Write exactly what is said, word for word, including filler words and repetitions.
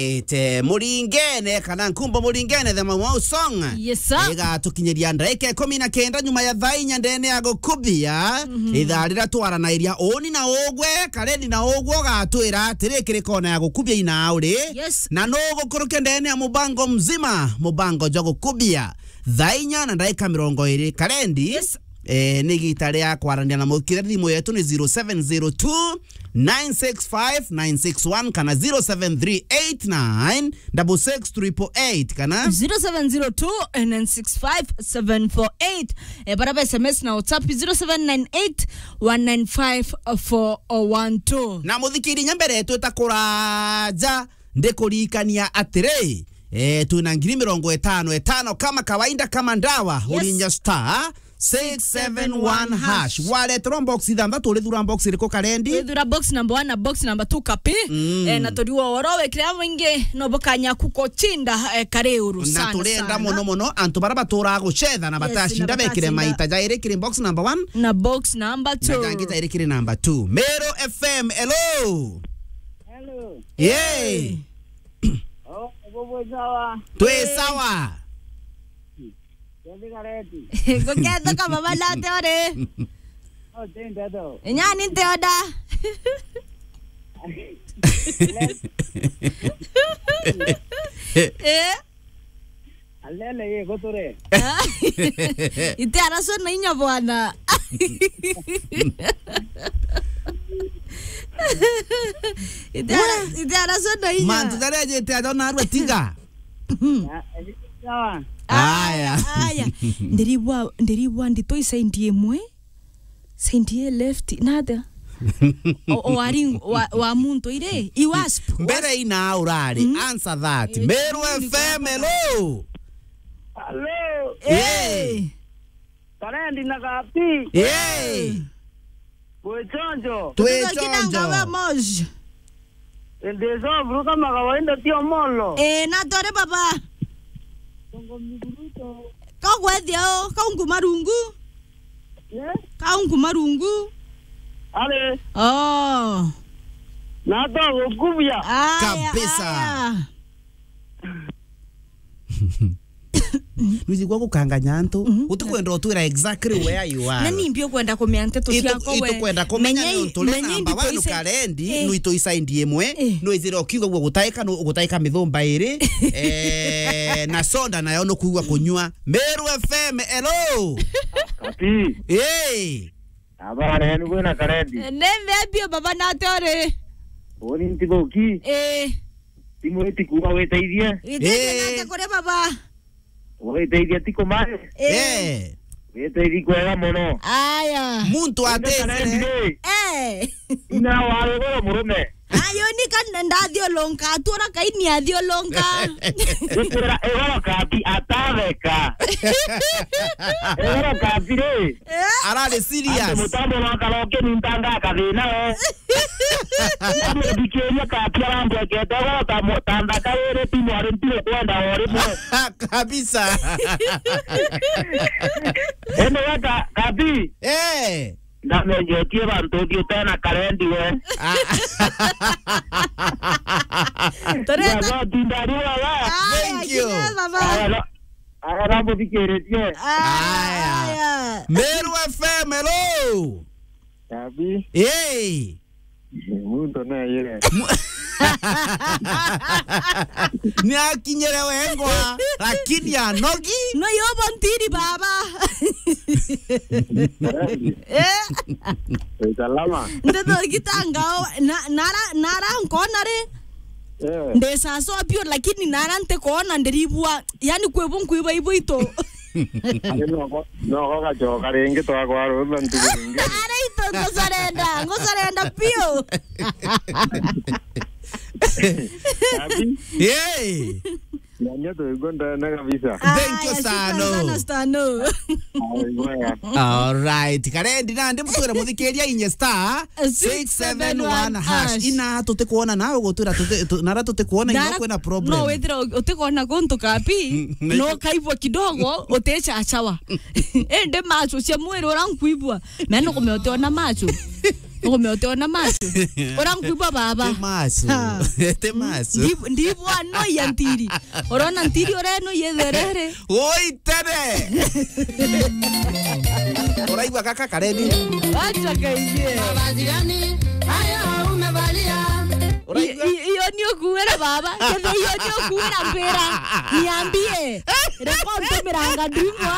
Ite Muringene kana Nkumbo Muringene, the Mau Mau song. Yes, sir. Igatukinyiria ndaika ikumi na kenda nyuma ya thaa inya ndene ya gukubia. Mhm. Ithaa riria twaranairia uni na ugwe, karendi na ugwe ugatwira atiri kiri kona ya gukubia ina uri. Yes. Na no gukuruke ndene ya mubango mzima, mubango jwa gukubia. Thaa inya na ndaika mirongo iri karendi. Yes. Eh, ni igita ria kwarania na mukire, thimu yetu ni zero seven zero two, nine six five, nine six one kana zero seven three eight nine double six triple eight kana zero seven zero two, nine six five, seven four eight. Eh, bara ba S M S na WhatsApp zero seven nine eight, one nine five, four one two. Na muthikiri, nya mbere twita kuraja, ndikuririkania atiri, eh, twina ngiri mirongo itano itano kama kawaida, kama ndawa, yes, urinya star six seven one hash. Wareterwa box ithanthatu, urithura box iriku karendi? Urithura box number one na box number two kapi. Mm. Eh, na turiwa oro wekire mwingi no bukanya kuko chinda, eh, kare uru. Na sana, turenda sana, muno muno antu bara batura gucetha na, yes, batacinda na bekire batacinda maita jairi kiri box number one na box number two. Na jangi jairi kiri number two. Meru F M, hello. Hello. Yay. Oh, bubu sawa. Twi sawa. Kendi kareti. Ngukethuka baba nate uri? Oh, tenda do. Nyani nteoda. Eh? Alele ye guture. Ite araswa na inya bwana. Ite ara-, ite araswa na inya. Mantu jaria ajite aja narua tiga. Ah, eh, sawa. Aya. Aya. Ndiribwa, ndiribwa ndito isaindi imwe. Saindi ya left, nata? O, o wari wa, wa muntu ire, i wasp. Mbere ina urari, mm, answer that. Eh, Meru F M, hello. Hello. Eh. Karendi na Kapi. Eh. Gwe chonjo. Twe chonjo. Kina ngawe moja. Ndi so buru kama kawaida, ti Omolo. Eh, na tore baba. Kagwethia o, kaungu marungu. Eh? Kaungu marungu. Ale. Oh. Na to gukubia. Aya, kabisa. Aya. Nuzi gwa gukanganya antu. Mhm. Utikwenda utwira exactly where you are. Na ni mbio kwenda kumenya nteto ciakwa we. Itukwenda kumenya ni untu ri namba one karendi, eh, nwitu isaindi imwe, eh, nwizire ukiuga guo gutaika, nu-, gutaika mithumba iri, eh, na soda nayo nukuigua kunyua. Meru F M, hello. Kapi. Eh. Abare, ni kwina karendi. Ne mbia baba nate uri? Uni ntibuki. Eh. Timu iti kuuga witeithie. Witeithie, eh, nate kuri baba. Witeithie ti kumari. Eh. Eh. Witeithie kwega muno. Aya. Muntu atesere. Karendi ri. Eh. Ina wa ruguru murume. Ayo ni kan-, ndathiulunka, atura kaini athiulunka. Gukwira igoro Kapi atabeka. Igoro Kapi ri. Eh? Arari serious. Ati mutambo wa karaoke ni ntanga akathina we. Ndamuthikiria Kapi arambwekete igoro ta mu-, ta nthaka iri ti mwari ntire kwenda o rimwe. Kabisa. Ende weka Kapi. Eh. Ndamenyetie bantu uthi utena karendi we. Ah. Tureta. Ndagoti ndari baba. Aya, thank you. Kinya baba. Aya, no, aya, namuthikiritie. Aya, aya. Meru F M, hello. Kapi. Hey. Muntu neyire. Mu-, ni akinyire wengwa, lakini anogi. No yobo ntiri baba. Eh? Salama. Ndeto gitangao, na, nara, nara nkona ri. Eh. Ndesaswa bio, lakini nara ntikona ndiribua. Yani kwi bu nkuiba ibu itu. Ari noko, noko gacoka ringi twakwarutha ntuku ringi. Ara itu ngusorenda, ngusorenda piu. Abi? Yay! Nanya tuigua ndene kabisa. Thank you, aya, shukran sana, Stano. Ai, bwana. All right. Karendi nandi mutwire muthikiria inye star six seven one hash. Ina tutikuona nawe gutwira tuti-, tu-, nara tutikuona ina kwina problem. No withira u-, utikuona guntu Kapi, mm, no kaibwa kidogo, utichachawa. Indi macho cia mwiri ura nkuibwa, meno kume utiona macho. Ugume utiona masu. Urankuibwa baba. Ti masu. Ha. Ti masu. Ndi-, ndibwa no ya ntiri. Urona ntiri ureno yetherere. Woi tene. Uraigua gaka kareni? Acha kaingie. Mavazi gani hayo umevalia? Uraigua? I-, i-, iyo ni ukuwira baba. Kethe iyo ni ukuwira mbira. Niambie. Reko ntumiranga ndimwa.